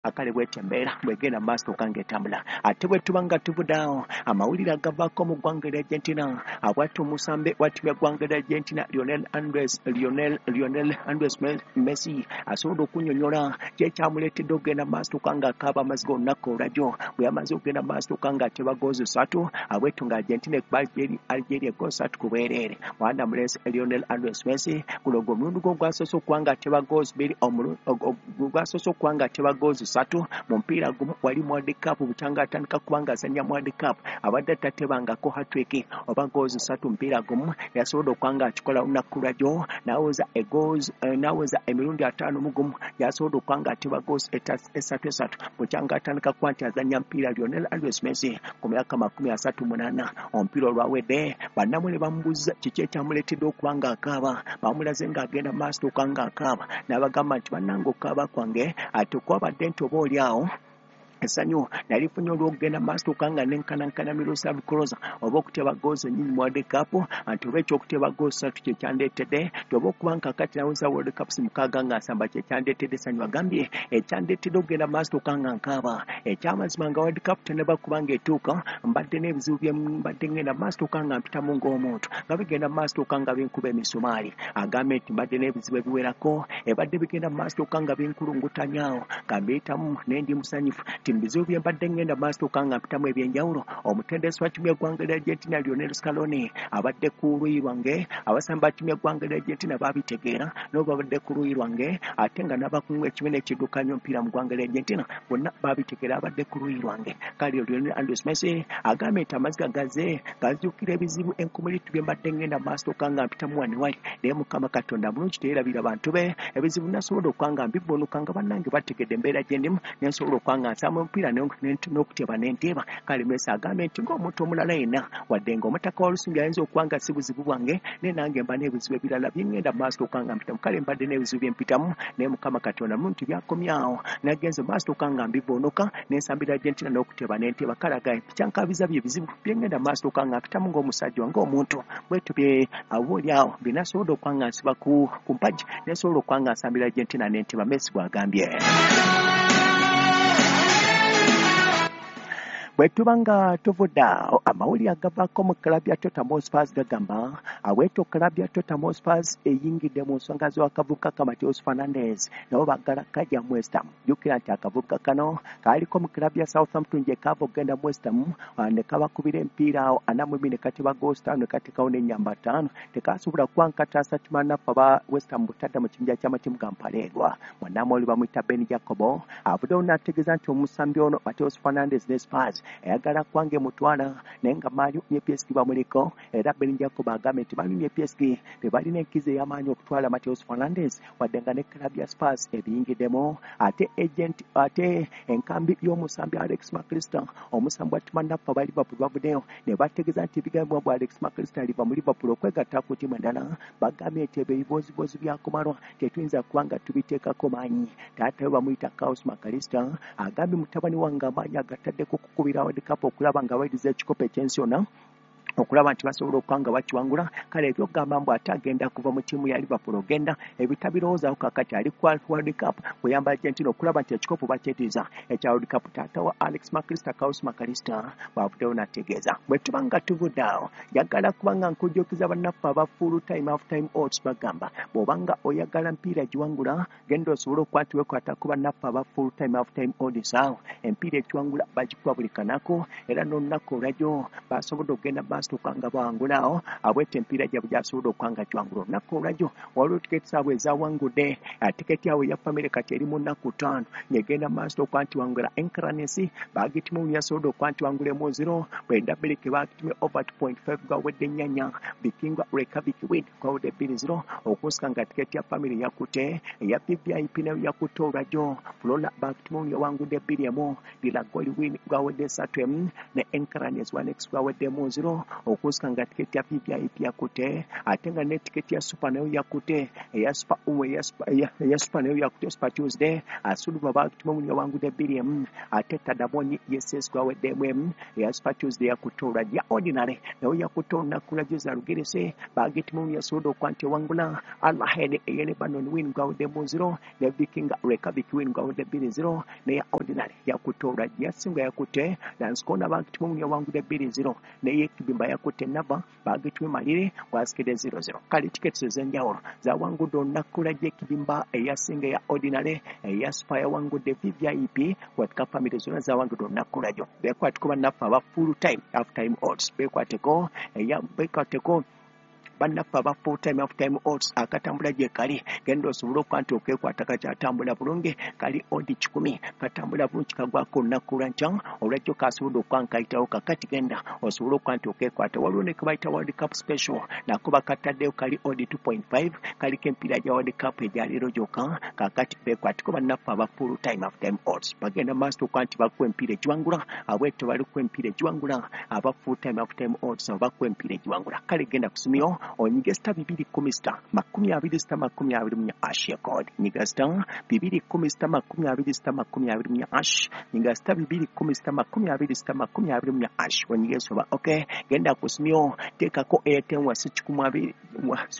Akale bwetyo embeera bwegenda maaso okanga etambula. Ate bwe tuba nga tuvudde awo, amawulire agavaako mu ggwanga erya Argentina, abwati omusambe wa ttiimu y'eggwanga erya Argentina, Lionel Andres Messi, asobodde okunnyonnyola kyekyamuleetedde okugenda maaso okanga akaaba amaziga olunaku olwajjo bwe yamaze okugenda maaso okanga ateba goozi 3, abwetu nga Argentina ekuba Algeria goal 3 ku bwereere. Mwana mulenzi Lionel Andres Messi, guno gwe omulundi gwe ogwasoose okuba nga ateba goozi 2, gwasoose okuba nga ateba goozi 3 mu mupiira gumu wali mu World Cup. Bukyanga atandika kuba nga azannya mu World Cup, abadde tatebangako hat-trick oba goozi 3 mupiira gumu. Yasobodde okuba nga akikola olunaku lwajjo, n'aweza emirundi 51 yasobodde okuba nga ateba goozi esatu esatu bukyanga atandika kuba nti azannya mupiira. Lionel Andres Messi ku myaka 38. Omupiira olwawedde, bannamwe ne bamubuuza kiki ekyamuleetedde okuba nga akaaba. Bamulaze ng'agenda maaso okuba nga akaaba, n'abagamba nti, "Bannange, okukaaba kwange ate kwabadde nti oba oli awo essanyu nalifunye olw'okugenda maaso nga nenkanankana Miroslav Klose oba okuteba goozi ennyingi mu World Cup, nti oba ekyokuteba goozi 3 kye kyandeetedde, nti oba okuba nkakati naweza World Cups 6 nga nsamba kye kyandeetedde essanyu." Agambye, "Ekyandeetedde okugenda maaso nga nkaaba, ekyamazima nga World Cup tenaba kuba nga etuuka, mbadde n'ebizibu bye mbadde ngenda maaso nga mpitamu ng'omuntu, nga bigenda maaso nga binkuba emisumaali." Agambye nti, "Mbadde n'ebizibu ebiwerako ebadde bigenda maaso nga binkulungutanyaawo, nga mbiyitamu, naye ndi musanyufu nti mu bizibu bye mbadde ngenda maaso nga mpitamu ebyenjawulo, omutendesi wa ttiimu y'eggwanga lya Argentina, Lionel Scaloni, abadde ku luuyi lwange. Abasamba ttiimu y'eggwanga lya Argentina babitegeera nabo babadde ku luuyi lwange, ate nga n'abakungu ekibiina ekiddukanya omupiira mu ggwanga lya Argentina bonna babitegeera, abadde ku luuyi lwange." Kale Lionel Andres Messi agambye nti amaziga gaze gazijukira ebizibu enkumiritu bye mbadde ngenda maaso nga mpitamu wano wali, naye Mukama Katonda mulungi, teyerabira bantu be. Ebizibu nasobodde okuba nga mbivuunuka nga bannange bategedde embeera gye ndimu, nensobola okuba nga nsamba omupiira n'okuteba nenteeba. Kale Messi agambye nti ng'omuntu omulala yenna, wadde ng'omutaka wa Lusimbi ayinza okuba nga si buzibu bwange, naye nange mba n'ebizibu ebirala byengenda maaso okuba nga mpitamu. Kale mbadde n'ebizibu bye mpitamu, naye Mukama Katonda mulungi, byakomyawo, nagenze maaso okuba nga mbivuunuka, nensambira Argentina n'okuteba nenteeba. Kale agambye nti kyankabiza bye bizibu byengenda maaso okuba nga mpitamu ng'omusajja, ng'omuntu bwetyo bye oba oli awo byenasobodde okuba nga nsiba ku mpagi, nensobola okuba nga nsambira Argentina nenteba. Messi bw'agambye. Bwe tuba nga tuvudde awo, amawulire agavaako mu club ya Tottenham Hotspur gagamba aweeto club ya Tottenham Hotspur eyingidde mu nsonga z'akavubuka ka Mateus Fernandes, nabo baggala kajja mu West Ham. Jjukira nti akavubuka kano kaaliko mu club ya Southampton, gye kaava okugenda mu West Ham, ne kabakubira emipiira awo 42, ne kateba goals 5, ne kateekawo n'ennyamba 5. Tekasobola kuba nkataasa kimanaffe aba West Ham butadda mu kibinja ky'amatimu ga mpaleerwa. Munnamawulire bamuyita Ben Jacobo avuddewo n'ategeeza nti omusambi ono Mateus Fernandes ne Spurs ayagala kubanga emutwala, naye nga Man U ne PSG bamuliko. Era Ben Jacob agambye nti Man U ne PSG bebalina enkizo ey'amaanyi okutwala Mateus Fernandes, wadde nga ne club ya Spurs ebiyingiddemu. Ate agent, ate enkambi y'omusambi Alex McAllister, omusambi wa ttiimu naffe aba Liverpool, bavuddeyo ne bategeeza nti ebigambibwa bwa Alex McAllister aliva mu Liverpool okwegatta ku ttiimu endala, bagambye nti ebyo ebibozibozi byakumalwa, tetuyinza kuba nga tubiteekako maanyi. Taata we bamuyita Carlos McAllister agambye, "Mutabani wange amaanyi agataddeko kukubira World Cup okulaba nga bayiriza ekikopo ekyensi yonna, okulaba nti basobola okuba nga bakiwangula. Kale ebyokugamba mbu ate agenda kuva mu ttiimu ya Liverpool ogenda, ebitabirowoozaako kakati, ali ku World Cup kuyamba Argentina okulaba nti ekikopo bakyetiza ekya World Cup." Taata wa Alex McAllister, Carlos McAllister, bw'avuddeyo n'ategeeza. Bwe tuba nga tuvudde awo, njagala kuba nga nkujjukiza bannaffe aba Full Time Half Time Odds. Bagamba bw'obanga oyagala mpiira giwangula, genda osobole okuba nti weekwata ku bannaffe aba Full Time Half Time Odds. Awo empiira ekiwangula bagikuba buli kanaku, era n'olunaku olwajjo basobodde okugenda maaso okuba nga bawangula awo abweta empiira gyabwe gyasobodde okuba nga giwangula olunaku olwajjo. Waliwo tiketi zaabwe ezawangudde. Tiketi yaabwe eya famire kati eri mu nnaku 5 ng'egenda maaso okuba nti wangula. Enkranes bagitimu yasobodde okuba nti wangula 1-0. Bwenda Biriki bagitumye over 2.5, gwawedde nnyanya. Vikinga Reykjavik win gwawedde 2-0. Okusika nga tiketi ya famire yakutte, eya VVIP nayo yakutte olwajjo. Flora bagitimu yawangudde 2-1, Lilagoli win gwawedde 3-1, ne Enkranes 1x gwaweddemu 0. olwajjo okusika nga tiketi ya VVIP yakutte, ate nga ne tiketi ya super nayo yakutte, eya super eya super nayo yakutte. Super Tuesday Asuluba bagituma yawangudde 2-1, ate Tadamoni yeses gwaweddemu 1. Eya Super Tuesday yakutte olwajjo. Ya ordinary nayo yakutte olunaku lwajjo, Zalugerese bagituma yasobodde okuba nti ewangula. Al Ahed eya Lebanon win gwaweddemu 0, ne Viking Reykjavik win gwawedde 2-0. Neya ordinary yakutte olwajjo, yasinga yakutte Lanskona bagituma yawangudde 2-0, neye Kibimba yakutte Nava bagituma malire gwasikidde 0-0. Kale tiketi ez'enjawulo zawangudde olunaku lwajjo: Ekibimba eyasinga, eya ordinary, eya super yawangudde, VVIP World Cup family zonna zawangudde olunaku lwajjo. Bekwateko bannaffe aba full time half time odds, bekwateko eya bekwateko bannaffe aba full time half time odds. Akatambula gye kali, genda osobole okuba nti okekwata, kakyatambula bulungi, kali odd 100, katambula bulungi, kagwako olunaku lwankya olwajjo, kasobodde okuba nkayitawo. Kakati genda osobole okuba nti okekwata. Waliwo ne kebayita World Cup special, nako bakataddeyo, kali odd 2.5, kaliko empiira gya World Cup egyaleero gyokka. Kakati bekwateko bannaffe aba full time half time odds, bagenda maaso okuba nti bakuwa empiira egiwangula. Abwetyo balikuwa empiira egiwangula, aba full time half time odds abo bakuwa empiira egiwangula. Kale genda kusumyo onyige *210 *20 *24 hash ya code. Nyiga *210 *20 *24 hash, nyiga *210 *20 *24 hash, onyige soba okay. Genda kusumyo, teekako airtime wasi 120,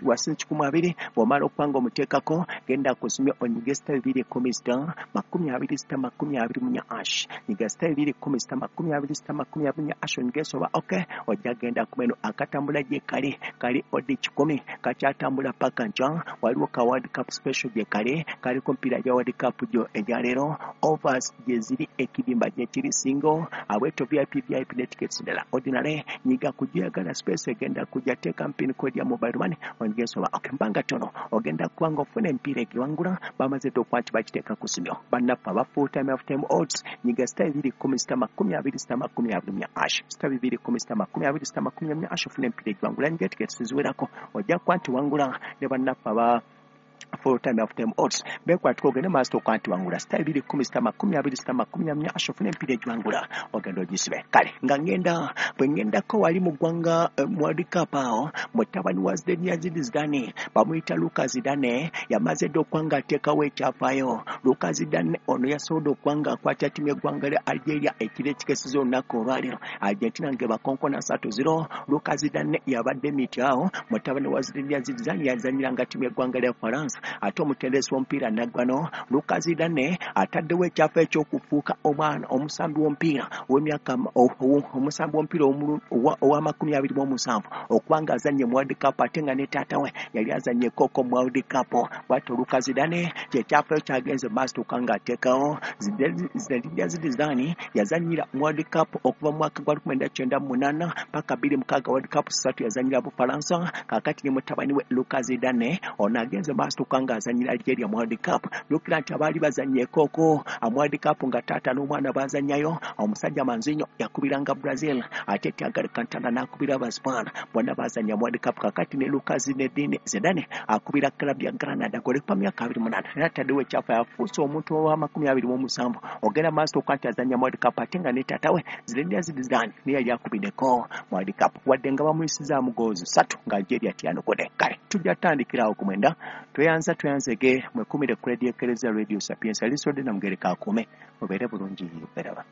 wasi 120. Bw'omala okuba nga omuteekako, genda kusumyo onyige *210 *20 *24 hash, nyiga *210 *20 *24 hash, onyige soba okay. Ojja genda kumeno akatambula gye kali, kali odd 100, kakyatambula paka nkya. Waliwo ka World Cup special gye kali, kaliko mpiira gya World Cup gyo egyaleero, overs gye ziri, ekibimba gye kiri single abweto, VIP, VIP ne tickets ndala. Ordinary nyiga kujyagala space egenda kujja, teeka pin code ya mobile money, onyige soba okay. Mbanga tono ogenda kubanga ofuna empiira egiwangula, bamaze dde okuba nti bakiteeka ku simyo. Bannaffe aba full time half time odds, nyiga *210 *20 *24 hash, *210 *20 *24 hash, ofuna empiira egiwangula. Nyiga tickets ziwerako, ojja kuba nti wangula. Ne bannaffe aba full time half time odds bekwatiko, ogende maaso okuba nti wangula *210 *20 *24 hash, ofuna empiira egiwangula, ogenda ogisibe. Kale nga ngenda bwe ngendako wali mu ggwanga mu World Cup awo, mutabani wa Zinedine Zidane bamuyita Luka Zidane yamaze dde okuba nga ateekawo ekyafaayo. Luka Zidane ono yasobodde okuba nga akwata ttiimu y'eggwanga lya Algeria ekiro ekikesiza olunaku olwaleero, Argentina nga bakonkona 3-0. Luka Zidane yabadde miti awo. Mutabani wa Zinedine Zidane yazanyiranga ttiimu y'eggwanga lya Faransa, ate omutendesi w'omupiira naggwano. Luka Zidane ataddewo ekyafa ekyokufuuka omwana omusambi w'omupiira ow'emyaka omusambi w'omupiira owa 27 okuba nga azannye mu World Cup, ate nga ne taata we yali azannyekoko mu World Cup. Bwatyo Luka Zidane kyekyafaayo kyagenze maaso tuka ng'ateekawo. Zinedine Zidane yazannyira mu World Cup okuva mu mwaka gwa 1998 paka 2006, World Cup 3 yazannyira Bufalansa. Kaakati ne mutabani we Luka Zidane ono agenze maaso tuka ng'azannyira Algeria mu World Cup. Jjukira nti abaali bazannyeekoko mu World Cup nga taata n'omwana bazannyayo, omusajja Manzinho yakubiranga Brazil, ate Thiago Alcantara n'akubira Abaspain, bonna bazannya mu World Cup. Kakati ne Luka Zinedine Zidane akubira club ya Granada golekupa myaka 28, era ataddewo ekyafa, yafuuse omuntu owa 27 ogenda maaso okuba nti azannya mu World Cup, ate nga ne taata we Zinedine Zidane naye yali akubiddeko mu World Cup, wadde nga bamuyisizaamu goozi 3 nga Algeria tyanukudde. Kale tujja tutandikirawo ku 9. Tweyanza, tweyanzege, mwekumire ku Radio Ekereza, Radio Sapiensia. Lisodde Namugereka akuume, mubeere bulungi, beraba.